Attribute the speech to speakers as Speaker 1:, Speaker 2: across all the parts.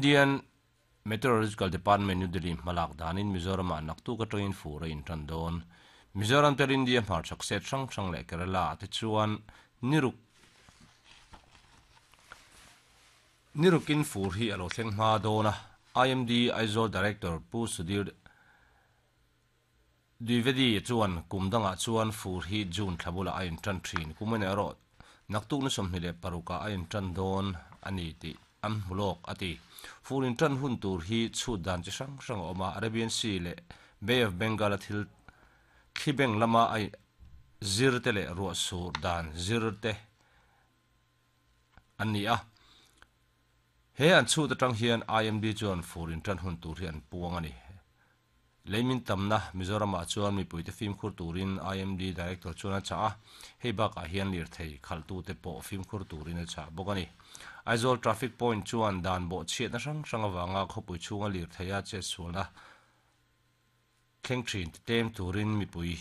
Speaker 1: Indian Meteorological Department, New Delhi hmalak danin Mizoramah naktuk atangin fur a intan dawn. Mizoram tel India hmarchhak state hrang hrang leh Kerala ah te chuan niruk nirukin fur hi a lo thleng hma dawn a, IMD Aizawl Director Pu Sudhir Dwivedi chuan kum dangah chuan fur hi June thla bulah a intan thin. Kum en erawh naktuk ni 26 ah a intan dawn a ni tih an hmu lawk a ti. Fur intan hun tur hi chhut dan chi hrang hrang a awm a, Arabian Sea leh Bay of Bengal a thil thli beng lama a zir te leh ruah sur dan zir te an ni a. He an chhut atang hian IMD chuan fur intan hun tur hi an puang a ni. Leimin tamna Mizoramah chuan mipuite fimkhur turin IMD Director chuan a chah a, hei bakah hian lirthei khalhtute pawh fimkhur turin a chah bawk a ni. Aizawl Traffic Point chuan dan bawhchhiatna hrang hrang avanga khawpui chhunga lirtheia chetsualna thleng thin titlem turin mipui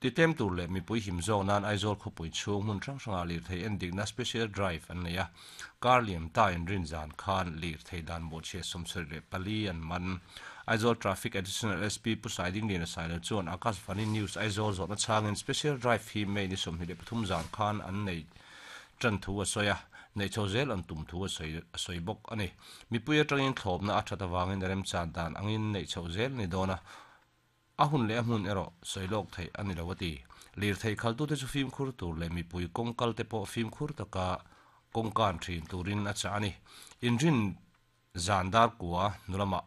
Speaker 1: Titlem tur leh mipui him zawk nan Aizawl khawpui chhung hmun hrang hrangah lirthei endikna Special Drive an nei a, kar liam ta inrin zan khan lirthei dan bawhchhiat 74 an man. Aizawl Traffic Additional SP Pu Saidingliana Sailo chuan Akashvani News Aizawl zawhna chhangin Special Drive hi May ni 23 zan khan an nei tan thu a sawi a, neih chho zel an tum thu a sawi a sawi bawk a ni. Mipui atangin thlawpna a that avangin remchan dan angin neih chhoh zel a ni dawn a, A hun leh a hmun erawh sawi lawk theih a ni lo a ti. Lirthei khaltute chu fimkhur tur leh mipui kawngkal te pawh fimkhur taka kawngkan thin turin a chah a ni. Inrin zan dar kua hnu lamah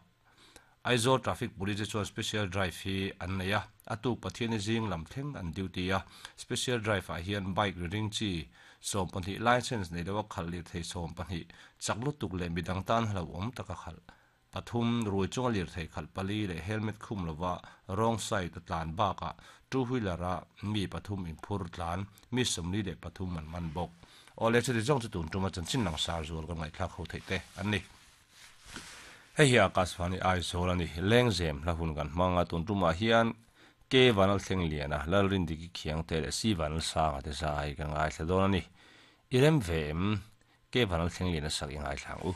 Speaker 1: Aizawl Traffic Police te chuan Special Drive hi an nei a, a tuk Pathiani zing lam thleng an duty a. Special Drive ah hian bike ri ring chi 12 licence nei loa khalh lirthei 12 chak lutuk leh midang tan hlauhawm taka khalh Pathum, rui chunga lirthei khalh pali leh helmet khum lova wrong side a tlan bakah two wheeler a mi pathum inphur tlan mi 43 an man bawk. Awle chuti zawng chu tun tuma chanchin langsar zual kan ngaihthlak ho theih te an ni. Hei hi Akashvani Aizawl a ni. Lengzem hla hun kan hmang a, tun tumah hian Ke Vanlalthleng Liana, Lalrindiki Khiangte leh Si Vanlalsanga te zai kan ngaithla dawn a ni. I rem ve em? Ke Vanlalthleng Liana sak i ngaithla ang u.